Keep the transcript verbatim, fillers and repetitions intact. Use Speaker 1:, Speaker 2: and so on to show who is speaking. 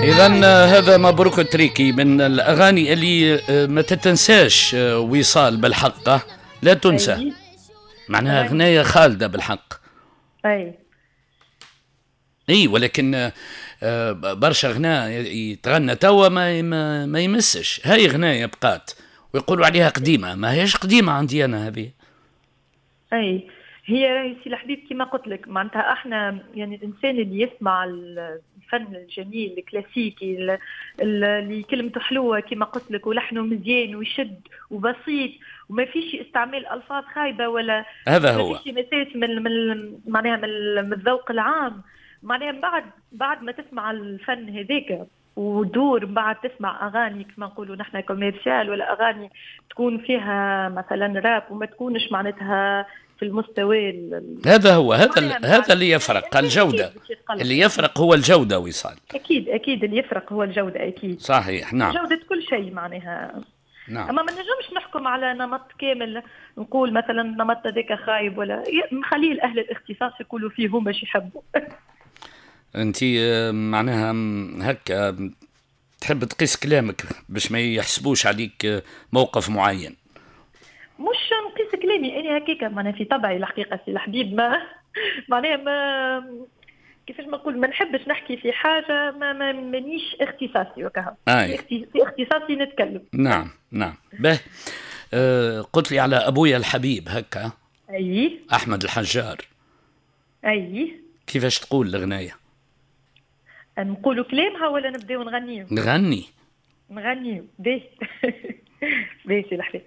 Speaker 1: إذا هذا مبروك التريكي من الأغاني اللي آه، ما تتنساش، آه، وصال بالحق لا تنسى.
Speaker 2: أي.
Speaker 1: معناها غناية خالدة بالحق.
Speaker 2: أي.
Speaker 1: اي، ولكن آه، برشا غناء يتغنى توا ما ما, ما يمسش. هاي غناية بقات ويقولوا عليها قديمة، ما هيش قديمة عندي أنا هذه.
Speaker 2: أي، هي راهي سي الحبيب كما قلت لك، معناتها احنا يعني الانسان اللي يسمع الفن الجميل الكلاسيكي اللي كلمته حلوة كما قلت لك ولحنه مزيان ويشد وبسيط وما فيش استعمال الفاظ خايبة ولا
Speaker 1: هذا هو
Speaker 2: ما فيش مساس من من معناها من الذوق العام. معناها بعد بعد ما تسمع الفن هذاك ودور بعد تسمع اغاني كما نقولوا نحن commercial ولا اغاني تكون فيها مثلا راب وما تكونش معناتها في المستوى.
Speaker 1: هذا هو، هذا هذا اللي يفرق، الجودة. اللي يفرق هو الجودة وصال.
Speaker 2: اكيد اكيد، اللي يفرق هو الجودة اكيد.
Speaker 1: صحيح، نعم.
Speaker 2: جوده كل شيء معناها.
Speaker 1: نعم.
Speaker 2: اما ما نجمش نحكم على نمط كامل، نقول مثلا النمط هذاك خايب ولا نخليه لاهل الاختصاص يقولوا فيه هما اش يحبوا.
Speaker 1: انت آه، معناها هكا تحب تقيس كلامك باش ما يحسبوش عليك آه، موقف معين.
Speaker 2: مش نقيس كلامي، انا هكاك معناها في طبعي الحقيقة سي الحبيب، ما معناها ما كيفاش ما نقول، ما نحبش نحكي في حاجة ما ما مانيش اختصاصي وكها. في اختصاصي نتكلم.
Speaker 1: نعم نعم به أه قلت لي على ابويا الحبيب هكا.
Speaker 2: اي.
Speaker 1: احمد الحجار.
Speaker 2: اي.
Speaker 1: كيفاش تقول الغنايه؟
Speaker 2: نقولوا كلامها ولا نبداو نغنيو؟
Speaker 1: نغني.
Speaker 2: نغنيو، باهي باهي سي الحبيب.